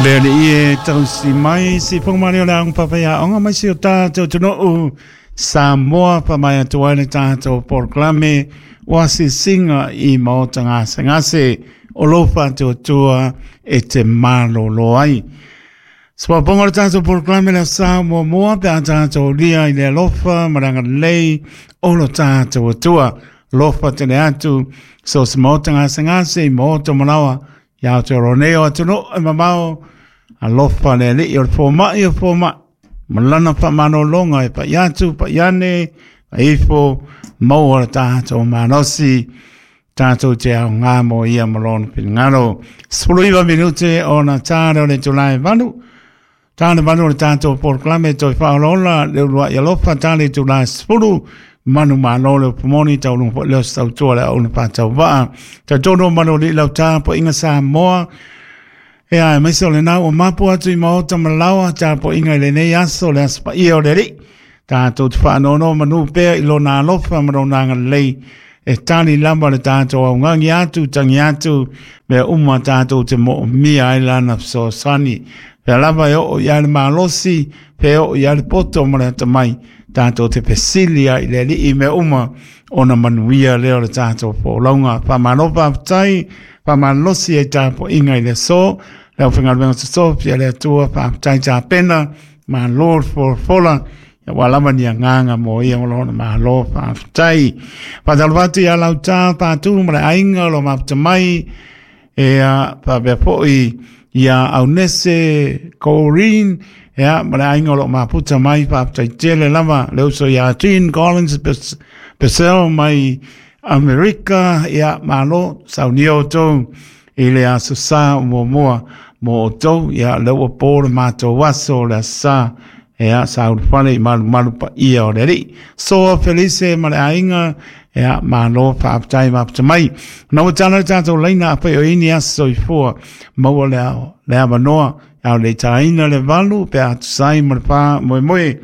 Le alii e tausi mai si whangamari o le aonga papaia onga mai si o tātou tunuu Samoa pa mai atu ai le tātou polokalame o asisinga i maota gasegase o lou faatuatua e te malolo ai. Soaponga o le tātou polokalame le sa muamua pe a tātou lia i le alofa ma le agalelei o lo tātou Atua. Alofa tele atu so se maota gasegase i maota malawa i Aotearoa nei o atunuu e mamao. Alofa le alii o le fomai o fomai ma lana faamalologa e pai atu pai ane pai ifo maua le tātou malosi tātou te ao ngā mo ia ma lona finagalo. 19 minute ona tā leo le itula e 8. Tā le 8 o le tātou polokalame toe faaolaola le uluai alofa tā le itula e 10 manu malo le upumoni taulunga foi leo se tautua le auna faatauvaa. Talitonu o manu o alii lau tapuaiga Samoa. E a aemaise o lena ua mapu atu i maota ma laoa tapuaiga i lenei aso le aso paia o le Alii. Tātou te faanoanoa manu pea i lona alofa ma lona agalelei e tali lava le tātou augagi atu, tangi atu, mea uma tātou te moomia ai lana fesoasoani. Pea lava e oo i ai le malosi, pe oo i ai le poto ma le atamai, tātou te fesili ai i le Alii mea uma ona manuia lea o le tātou folauga. Faamalo faafetai, faamalosi ai tapuaiga i le aso, le aufaigaluega totofi a le Atua, faafetai tapena, malo le folafola, ia ua lava ni agaga mo ia ma lona malo faafetai. Faatalofa atu ia Lauta Patu ma le aiga o lo mafuta mai, e a faapea foi ia Aunese Corinne, ia ma le aiga o lo mafuta mai, faafetai tele lava le uso ia Jean Collins Purcell mai Amerika, ia malo saunia outou i le aso sa o muamua mo outou, ia lea ua po le matou aso o le aso sa, ia sa ulufale i malumalu paia o le Alii. Soa Felice ma le aiga, ia malo faafetai mafuta mai. Na ua tala le tatou laina afai o ini aso soifua, maua le ao, le avanoa, ao le taina le 8 pe a tusai ma le faamoemoe.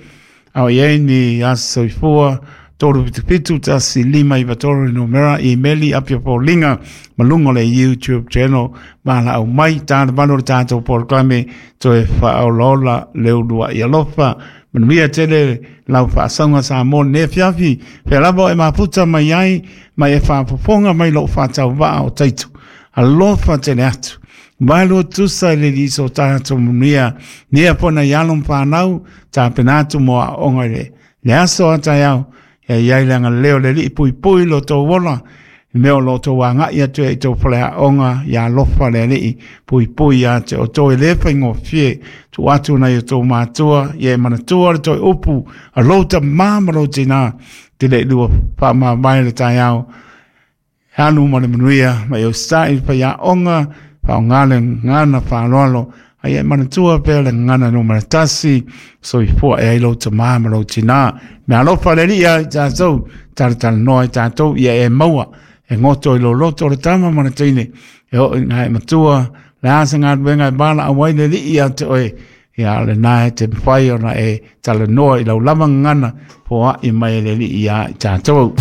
Ao i ai ni aso soifua, 377 1593 le numera, imeli apia foliga ma luga o le YouTube channel ma laau mai tā le 8 o le tātou polokalame toe faaolaola le uluai alofa. Manuia tele lau faasauga Samoa lenei afiafi, fea lava o e mafuta mai ai, mai e faafofoga mai lou faatauvaa o Taito. Alofa tele atu. Vaelua tusa i le liso o tātou manuia, nia pona i alo ma whānau, tapena atu mo aoga i le aso a taeao, ia iai le agalelei o le Alii puipui lo tou ola, i mea o lo tou agai atu ai i tou fale aoga, ia alofa le Alii puipui ia te outou e le faigofie, tuu atu nai o tou matua, ia e manatua le toe upu a lou tamā ma lou tinā, te le lua faamavae le taeao, Alu ma le manuia mai o sa i faiaoga, faaaoga le gagana faaaloalo, a ia e manatua pea le gagana numera 1, soifua e ai lou tamā ma lou tinā. Mea alofa le Alii ia i tatou, talatalanoa i tatou, ia e maua, e goto i lou loto o le tama ma le teine, e oo ina e matua, le a se galuega e valaau ai le Alii ia te oe, ia lena e te mawhai ona e talanoa i lau lava gagana, foai mai e le Alii ia i tatou.